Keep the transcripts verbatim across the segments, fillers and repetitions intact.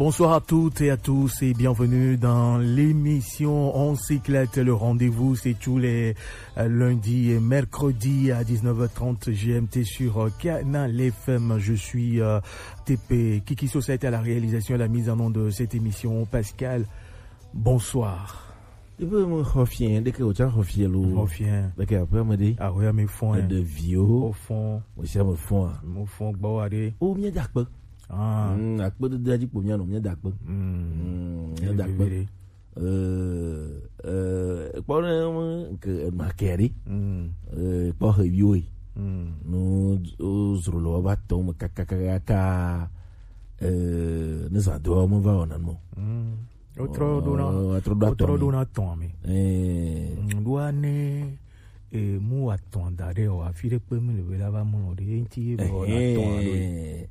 Bonsoir à toutes et à tous et bienvenue dans l'émission On s'éclate. Le rendez-vous, c'est tous les euh, lundis et mercredis à dix-neuf heures trente G M T sur euh, Canal F M. Je suis euh, T P Kiki Society à la réalisation et la mise en onde de cette émission. Pascal, bonsoir. Ebe mo xɔ fiẽ, ɖeke wòtsa xɔ fiẽ lo. Xɔ fiẽ. Ɖeke aƒea me ɖe. Ahoya me fɔn. Eɖe viwo. O fɔn. Mo sia me fɔn a. Mo fɔn gbɔ wa ɖe. O, mía dza kpe. Ah. Mm, akpedede dzi kpo mía nɔ, mía dza kpe. Mm. Mm, mía dza kpe. Vivi ɖe. Eh, eh, kpɔ ne ke makɛri. Mm. Eh, kpɔ he viwo yi. Mm. No o zro lo ba tɔ me kakakaka. Eh, ne zã do me va wɔna mo. Mm. Wotrɔ ɖona, oh, wotrɔ ɖo atɔ wotrɔ me. Ɖona tɔn me. Eh. Mm, ɖoa ne, eh, mu atɔn da ɖe o, afi ɖe kpe mi le be la va mlɔ ɖe, enti ye be o la tɔn ɖo. Ehɛn.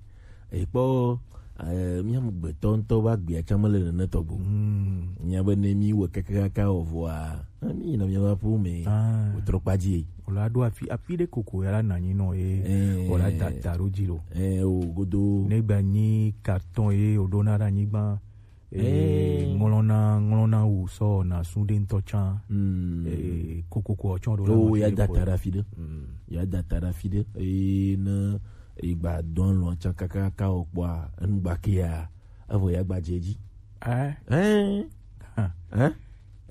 Ekpɔ, eh, mía mu gbetɔ ŋutɔ va gbea tsã mele nene tɔgbo. Mm. Mía be ne mí wɔ keke kaka o vɔa, eh, mí yina mía va ƒo me. Ah. Wotrɔ kpa dzi. O la ɖo afi, afi ɖe koko ya la nanyi nɔ ye. Eh. O la da ta ɖo dzi lo. Eh, o godo. Ne gba nyi carton ye o ɖona ɖe anyigba. Eh, ŋlɔna, ŋlɔna wu sɔ na su ɖe ŋutɔ tsã. Mm. Eh, kokoko tsɔ ɖo la. Oh, ma ya fi da ɖe ta ɖe afi ɖe. Mm. Ya da ta ɖe afi ɖe. Eh, ne, eh, gba dɔn lɔ tsã kakaka o kpɔa, enu gba ke ya, evo ya gba dze dzi. Eh? Eh? Ha. Eh?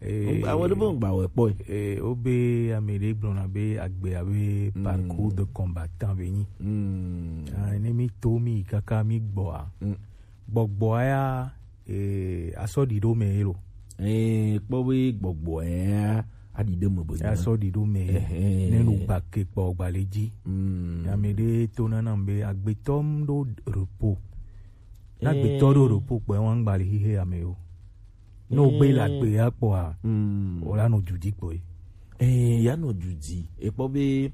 Eh, awo ɖe be ŋgba wɔ kpɔ. Eh, wo be ame ɖe gblɔna be agbe abe, mm, parcours de combattant be nyi. Mm. Ah, ne mi to mi kaka mi gbɔa. Mm. Gbɔgbɔ ya, eh, asɔ ɖi ɖo me ye lo. Eh, kpɔ be gbɔgbɔ ya aɖi ɖe me be. Asɔ ɖi ɖo me. Ehɛn. Ne nu gba ke kpɔ gba le dzi. Mm. Ame ɖe to nana be agbetɔ m ɖo repos. Na agbetɔ ɖo repos kpɔ wa ŋgba le xixe ame yo. Ne o gbe la gbe ya kpɔa, mm, o la nɔ dudi kpɔ ye. Eh, ya nɔ dudi. Ekpɔ be,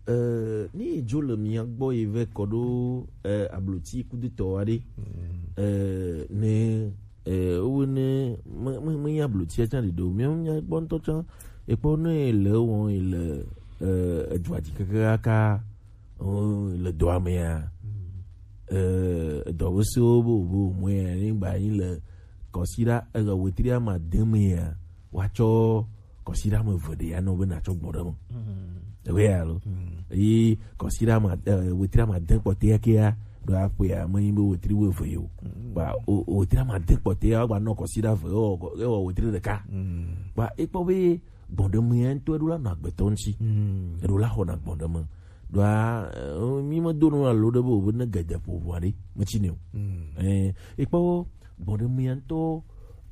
eh, ni dzo le mia gbɔ yi vɛ kɔ ɖo, eh, abloti kudutɔ aɖe. Mm. Eh, ne, eh, wo ne, me, me, me ya ablotia tsã ɖe ɖo. Mia, mia gbɔ ŋutɔ tsã, ekpɔ ne le wɔn, le, eh, edua dzi keke kaka, oh, le dɔa mea, mm, eh, edɔ be sewo be, be, mɔe, ne gba yi le kɔsiɖa, eh, wetri ama de mea, woatsɔ kɔsiɖa ame eve ɖe ya nɔ be natsɔ gbɔ ɖe me. Mm. Ewe ya lo. Mm. Eye kɔsiɖa ma, eh, wetri ama de kpɔtɔe ya kea, ɖo aƒea, me nyi be wetri wo eve yo. Mm. Ba, o, o, wetri ama de kpɔtɔe ya, woagba nɔ kɔsiɖa eve, ewɔ, ewɔ wetri ɖeka. Mm. Ba, ekpɔ be gbɔɖeme ya ŋutɔ eɖo la nɔ agbetɔ ŋuti. Mm. Eɖo la xɔna gbɔɖeme. Ɖoa, eh, mi me do nu alo ɖe be o be ne gede ƒo ʋua ɖe, me tsi ne o. Mm. Eh, ekpɔ gbɔɖeme ya ŋutɔ,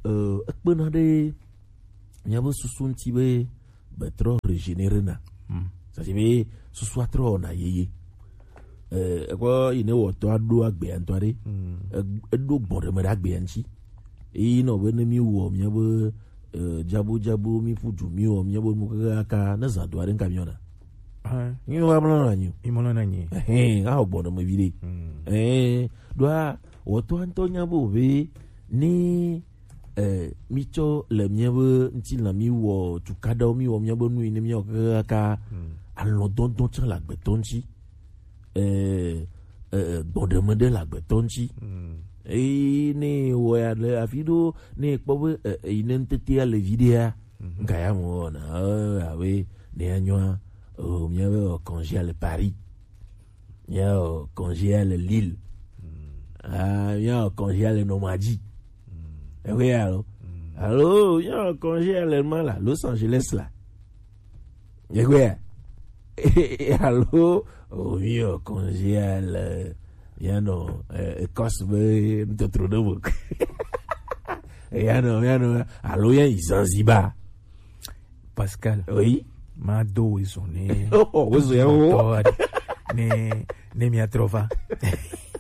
eh, ekpena ɖe míabe susu ŋuti be be trɔ régénérer na. Mm. C'est-à-dire be susua trɔ wɔna yeye. Eh, ekpɔ yi ne wɔtɔ aɖo agbea ŋutɔ aɖe. Mm. E-, eɖo gbɔɖeme ɖe agbea ŋuti. Eyi nɔ be ne mi wɔ míabe, eh, dzabu dzabu, mi ƒu du, mi wɔ míabe nu kaka ne zã do aɖe ŋka mi wɔna. Ah. Mi wa mlɔ na nyi. Mi mlɔ na nyi. Ehɛn, axɔ gbɔɖeme vi ɖe. Mm. Eh, ɖoa, wɔtɔ ŋutɔ nya be o be ne, eh, mi tsɔ le míabe ŋutilã, mi wɔ tukaɖawo, mi wɔ míabe nu yi ne mi wɔ kaka, mm, alɔdɔdɔ tsã le agbetɔ ŋuti. Eh, eh, gbɔɖeme ɖe le agbetɔ ŋuti. Mm. Eye ne wɔ ya le afi ɖo, ne kpɔ be, eh, eh, yi ne ŋutete ya le vi ɖea, mhm, ŋka ya mo wɔna, eh, abe ne ya nyɔa, oh, míabe wɔ congé le Paris. Míawɔ congé le Lille. Mm. Ah, míawɔ congé le Normandy. Mm. Ewe alo. Mm. Alo, míawɔ congé le ma la, Los Angeles la. Ewe. Alo, oh, míawɔ congé le, míanɔ, eh, Écosse be ŋutɔtrɔ ɖe me. Míanɔ, míanɔ, alo míayi Zanzibar. Pascal. Oui. Ma do wezon ne. Oh, wezon ya wo. Ne, ne mi atrova.